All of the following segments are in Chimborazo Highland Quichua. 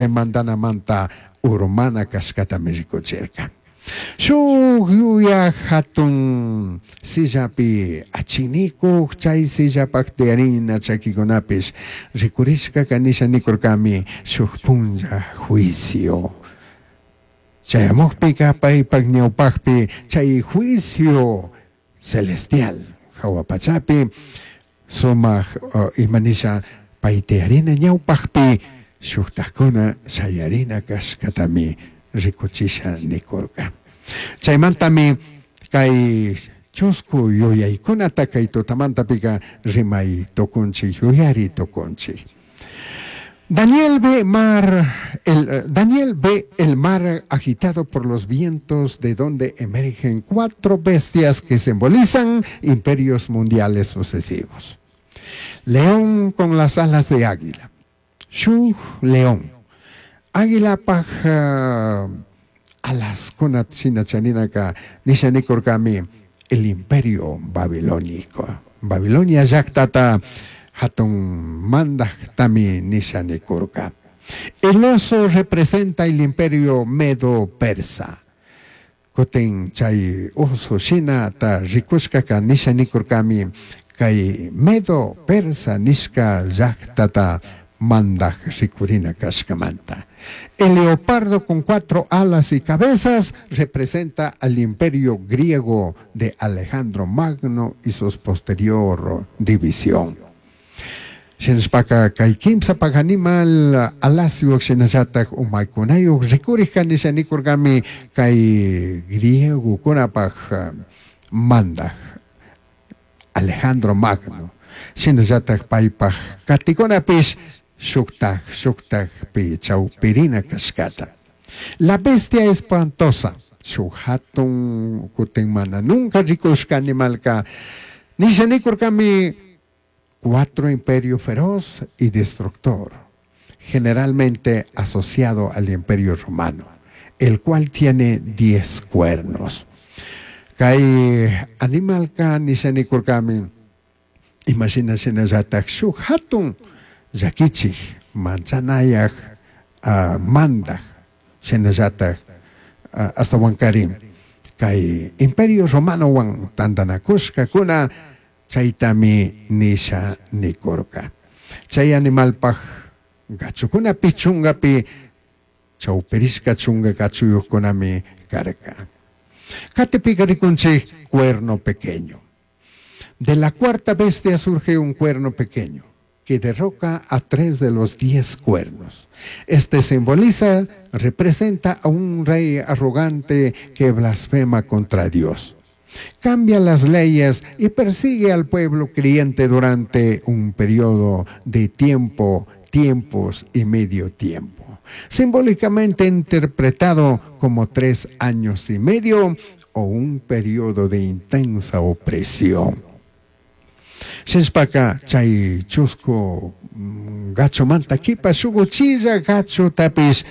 Mandanamanta urmana cashcatami ricuchirca. Shuj yuyaj jatun sillapi achinicuj chai sillapaj tiyarina chaquicunapish ricurishcaca nisha nicurcami shuj punlla juicio. Chayamujpica paipaj ñaupajpi chai juicio celestial jahua pachapi sumaj ima nisha pai tiyarina ñaupajpi shujtajcuna shayarina cashcatami ricuchisha nicurca. Chaimantami cai chuscu yuyaicunata cai tutamantapica rimai tucunchij, yuyari tucunchij. Daniel ve mar, el, Daniel ve el mar agitado por los vientos de donde emergen cuatro bestias que simbolizan imperios mundiales sucesivos. León con las alas de águila. Shuj león. Águilapaj alascuna shina charinaka nisha nicurcami el imperio babilónico. Babilonia llactata hatun mandajtami nisha nicurca. El oso representa el imperio medo-persa. Cutin chay oso shinata ricushcaca nisha nicurcami kay medo persa nishka llactata mandaj ricurina cashcamanta. El leopardo con cuatro alas y cabezas representa al imperio griego de Alejandro Magno y su posterior división. Shinashpaka kay kimsapak animal alasyuq shinallatak umaykunayuq rikurij nisha nikurkami kay griegokunapaj mandaj Alejandro Magno. Shinallatak paypaj katikunapish shuktaj shuktajpi chawpirina kashkata. La bestia espantosa, shuk hatun kutin mana nunca rikushka animalka nisha nikurkami cuatro imperio feroz y destructor, generalmente asociado al imperio romano, el cual tiene 10 cuernos. Kay animalka nisha nikurkami imashina shinallatak shuk hatun llakichik manchanayaj mandaj shinallatak ashtawankarin kay imperio romanowan tantanakushkakuna chaytami nisha nikurka. Chay animalpaj gachukunapi chungapi chawpirishka chunga gachuyuqkunami karka. Katipika rikunchik cuerno pequeño. De la cuarta bestia surge un cuerno pequeño que derroca a 3 de los 10 cuernos. Este simboliza, representa a un rey arrogante que blasfema contra Dios. Cambia las leyes y persigue al pueblo creyente durante un periodo de tiempo, tiempos y medio tiempo. Simbólicamente interpretado como 3 años y medio o un periodo de intensa opresión. Shinashpaka chay chusku gachumanta kipa shukuchilla gachutapish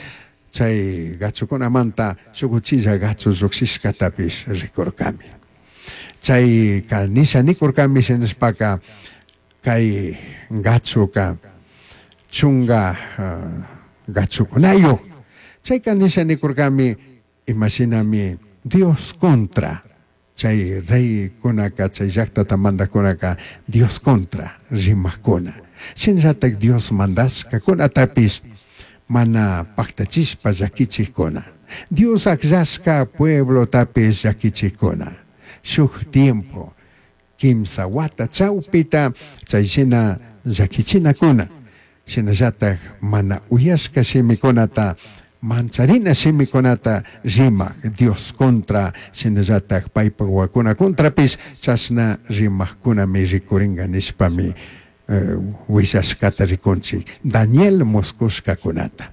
chay gachukunamanta shukuchilla gachu llukshishkatapish rikurkami. Chay nisha nikurkami shinashpaka kay gachuka chunga gachukunayu. Chayka nisha nikurkami imashinami Dios contra chay reykunaka chay llaqtata mandajkunaka Dios contra rimajkuna. Shinallatak Dios mandashkakunatapish mana pactachishpa llakichikuna. Dios akllashka pueblotapish llakichikuna. Shuk tiempo kimsa wata chawpita chay shina llakichinakuna. Shinallatak mana uyashka shimikunata mancharina shimikunata rimaq Dios contra shinallatak paypak wawakuna contrapish chashna rimaqkunami rikurinka nishpami willashkata rikunchik Daniel muskushkakunata.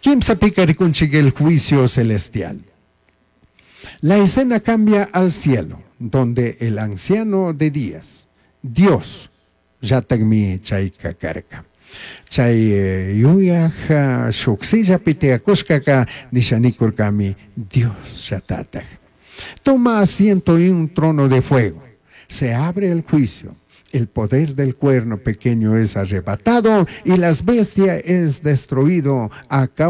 Kimsapika rikunchik el juicio celestial. La escena cambia al cielo, donde el anciano de días, Dios, llatakmi chayka karka. Chay yuyaj shuk sillapi tiyakushkaka nisha nikurkami Dios llatataj. Toma asiento en un trono de fuego. Se abre el juicio. El poder del cuerno pequeño es arrebatado y las bestias es destruido a causa.